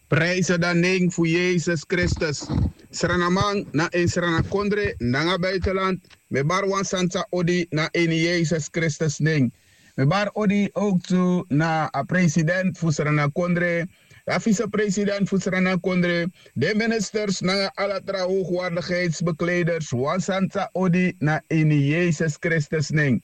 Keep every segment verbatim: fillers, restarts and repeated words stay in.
Prijse dan nen fu Yesus Kristus. Sranaman na ini Sranakondre nanga buitenland, mi e bari wan santa odi na ini Yesus Kristus nen. Mi e bari odi ook tu na a president fu Sranakondre, a vicepresident fu Sranakondre, de ministers nanga ala tra hoogwaardigheidsbekleders, wan santa odi na ini Yesus Kristus nen.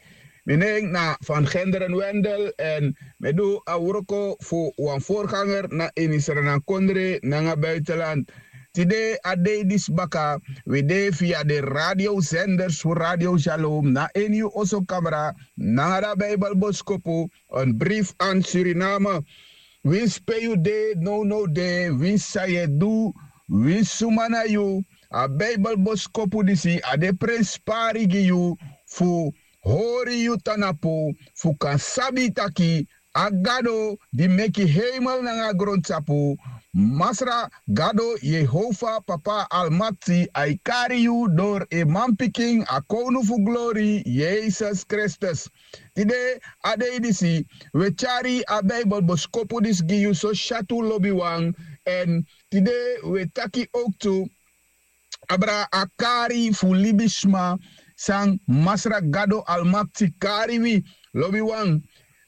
Mi nen na Van Genderen Wendel en mi e du a wroko fu wan voorganger na ini Sranakondre nanga buitenland. Tide a dei disi baka wi de via de radiozenders fu Radio Shalom na ini yu oso kamra nanga da Bijbelboskopu, een brief aan Suriname. Winsi pe yu de nownow de, winsi san yu e du, winsi suma na yu, a Bijbelboskopu disi a de prenspari gi yu fu hori yu tanapu, fu kan sabi taki a Gado di meki heimel nanga grontapu, Masra Gado Yehova Papa Almakti, a e kari yu dori en manpikin, a kownu fu glori, Yesus Kristus. Tide a dei disi wi e tyari a Bijbelboskopu disi gi yu so syatu, lobiwan. En tide wi e taki ook tu abra a kari fu libisma san Masra Gado Almakti kari wi, lobiwan.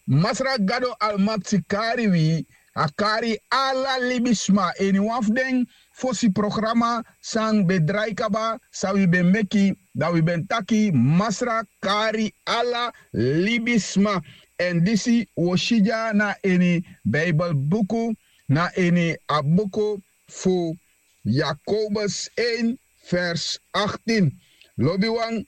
Masra Gado Almakti kari wi, a kari ala libisma. Ini wan fu den fosi programa san ben drai kaba, san wi ben meki, dan wi ben taki Masra kari ala libisma. En disi wi o si dya na ini Bijbelbuku, na ini a buku fu Yakobus één vers achttien. Lobiwan,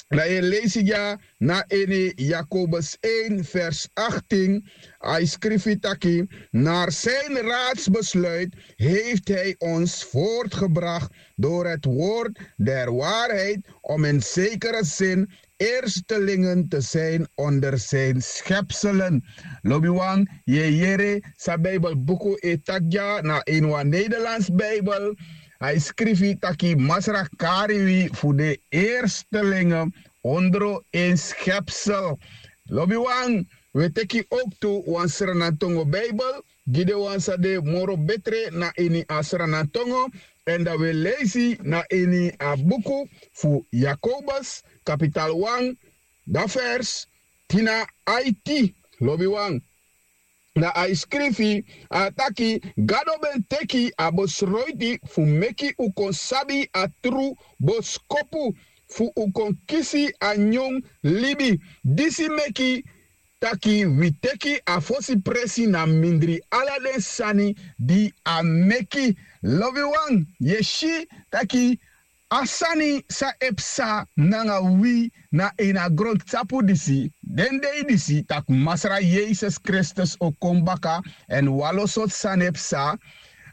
dan yu e leisi dya na ini Yakobus één vers achttien. A e skrifi taki: Naar zijn raadsbesluit heeft hij ons voortgebracht door het woord der waarheid, om in zekere zin eerstelingen te zijn onder zijn schepselen. Lobiwan, yu e yere san Bijbelbuku e taki dya na ini wan Nederlands Bijbel. A e skrifi taki Masra kari wi fu de eerstelingen ondro en schepsel. Lobiwan, wi e teki ook tu wan Sranantongo Bijbel, gi den wan san de moro betre na ini a Sranantongo. En dan wi e leisi na ini a buku fu Yakobus, kapital wan, da vers tin na aiti, lobiwan. Na a e skrifi, a taki: Gado ben teki a besroiti fu meki un kon sabi a tru boskopu, fu un kon kisi a nyun libi. Disi meki taki wi teki a fosi presi na mindri ala den sani di a meki. Lobiwan, yu e si taki a sani san e psa nanga wi na ini a grontapu disi, den dei disi, tak' Masra Yesus Kristus o kon baka, èn wan lo sortu sani e psa.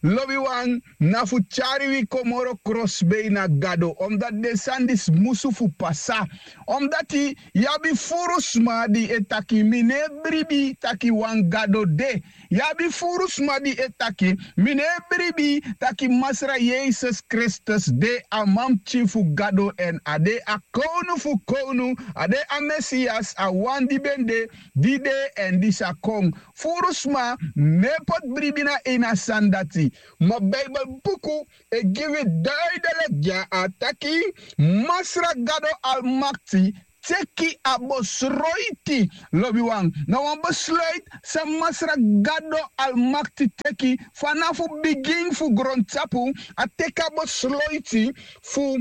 Lobiwan, na fu tyari wi kon moro krosbei na Gado, omdati den sani disi musu fu pasa. Omdati yu abi furu sma di e taki: Mi no e bribi taki wan Gado de. Yu abi furu sma di e taki: Mi no e bribi taki Masra Yesus Kristus de a manpikin fu Gado, èn a de a kownu fu kownu, a de a Mesias, a wan di ben de, di de, èn di sa kon. Furu sma no e poti bribi na ini a sani dati. Ma Bijbelbuku e gi wi duidelijk dya, a taki Masra Gado Almakti teki a besroiti, lobiwan. Na wan besluit san Masra Gado Almakti teki fanafu bigin fu grontapu. A teki a besluiti fu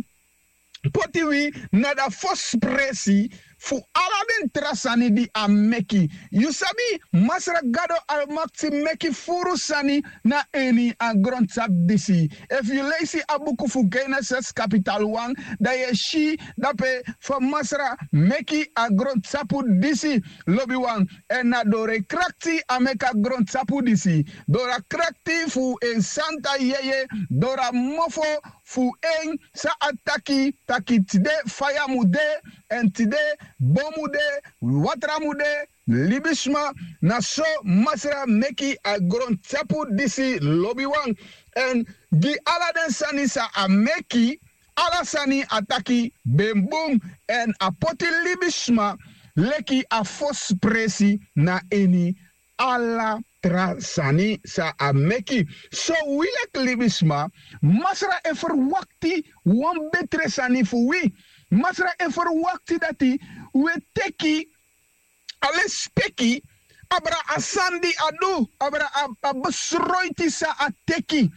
poti wi na da fosi presi fu ala den tra sani di a meki. Yu sabi, Masra Gado Almakti meki furu sani na ini a grontapu disi. Efu yu leisi a buku fu Genesis kapital wan, dan yu e si dape fa Masra meki a grontapu disi, lobiwan. Èn na doro en krakti a meki a grontapu disi. Doro a krakti fu en santa yeye, doro a mofo fu en san a taki taki tide faya mu de, èn tide bon mu de, watra mu de, libisma. Na so Masra meki a grontapu disi, lobiwan. Èn gi ala den sani san a meki, ala sani a taki ben bun, èn a poti libisma leki a fosi presi na ini ala tra sani san a meki. So wi leki libisma, Masra e ferwakti wan betre sani fu wi. Masra e ferwakti dati wi e teki a lespeki abra a sani di a du, abra a besroiti san a teki.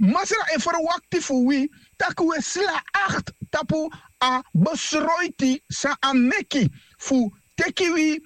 Masra e ferwakti fu wi tak' wi e sla akti tapu a besroiti san a meki fu teki wi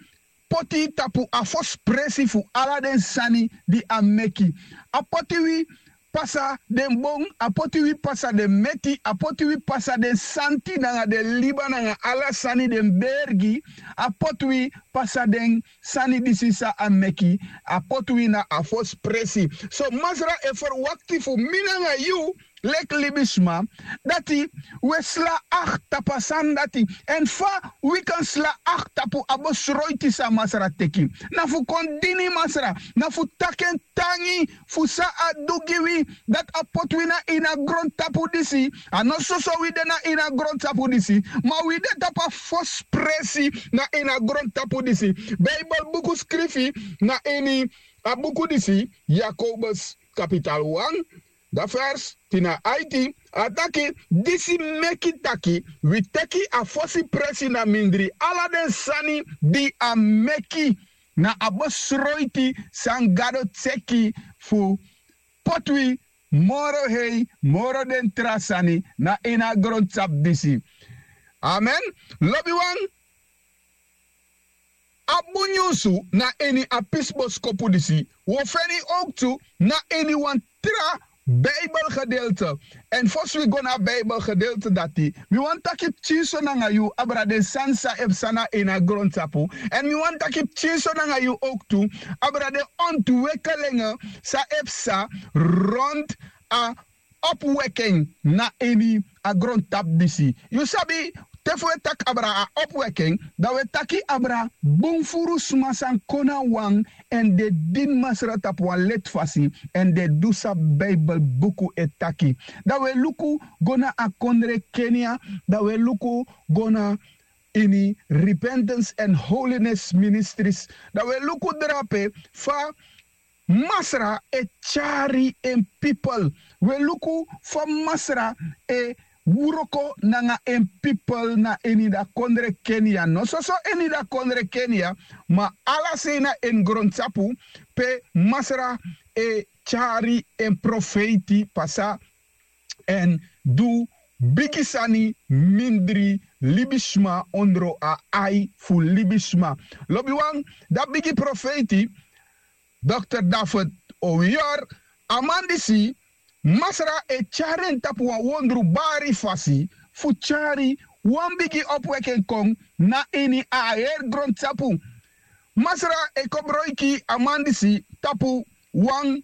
poti tapu a fosi presi fu ala den sani di a meki. A poti wi pasa den bon, a poti wi pasa den meti, a poti wi pasa den santi nanga den liba nanga ala sani den bergi. A poti wi pasa den sani disi san a meki. A poti wi na a fosi presi. So Masra e ferwakti fu mi nanga yu leki libisma dati wi e sla akti tapu a sani dati. Èn fa wi kan sla akti tapu a besroiti san Masra teki? Na fu kon dini Masra, na fu taki en tangi fu san a du gi wi, dati a poti wi na ini a grontapu disi. A no soso wi de na ini a grontapu disi, ma wi de tapu a fosi presi na ini a grontapu disi. Beibel buku skrifi na ini a buku disi, Yakobus kapital wan, da vers tin na aiti, a taki: Disi meki taki wi teki a fosi presi na mindri ala den sani di a meki, na a besroiti san Gado teki fu poti wi moro hei, moro den tra sani na ini a grontapu disi. Amen. Lobiwan, a bun nyunsu na ini a pisi boskopu disi wi o feni owktu na ini wan tra Bijbelgedeelte. Èn fosi wi go na a Bijbelgedeelte dati, mi wani taki pikinso nanga yu abra den sani san e psa na ini a grontapu. Èn mi wani taki pikinso nanga yu owktu abra den ontwikkelingi san e psa rond a opwekking na ini a grontapu disi. Yu sabi, te fu e taki abra a opwekking, dan wi e taki abra bun furu sma san kon na wan èn den dini Masra tapu wan leti fasi èn den du san Bijbel buku e taki. Dan wi e luku go na a kondre Kenia, dan wi e luku go na ini Repentance and Holiness Ministries, dan wi e luku drape fa Masra e tyari en pipel. Wi e luku fa Masra e wroko nanga en pipel na ini da kondre Kenia. No soso ini da kondre Kenia, ma ala sei na en grontapu pe Masra e tyari en profeiti pasa èn du bigi sani mindri libisma ondro a ai fu libisma. Lobiwan, da bigi profeiti Dokter David Owiyor, a man disi Masra e tyari en tapu wan wondrubari fasi fu tyari wan bigi opweki en kon na ini a heri grontapu. Masra e kobroiki a man disi tapu wan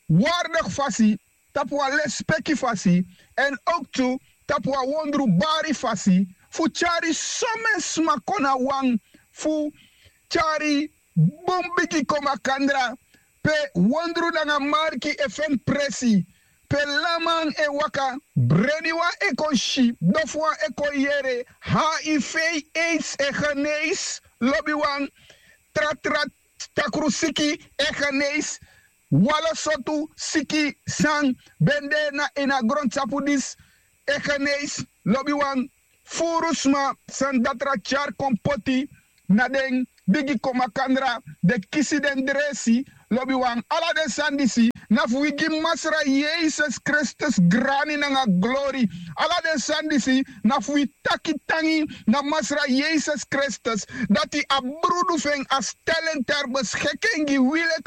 wardigi fasi, tapu wan lespeki fasi, èn owktu tapu wan wondrubari fasi fu tyari somen sma kon na wan fu tyari bun bigi kon makandra pe wondru nanga marki e feni presi, pe lanman e waka, breniwan e kon si, dofuwan e kon yere, hiv, aids e geneisi, lobiwan, tra tra takru siki e geneisi, wan lo sortu siki san ben de na ini a grontapu disi e geneisi, lobiwan, furu sma san datra tyari kon poti na den bigi kon makandra, den kisi den dresi, lobiwan, ala den sani disi na fu wi gi Masra Yesus Kristus grani nanga glori. Ala den sani disi na fu wi taki tangi na Masra Yesus Kristus, dati a brudu fu en a stel en ter beschikking gi wi leki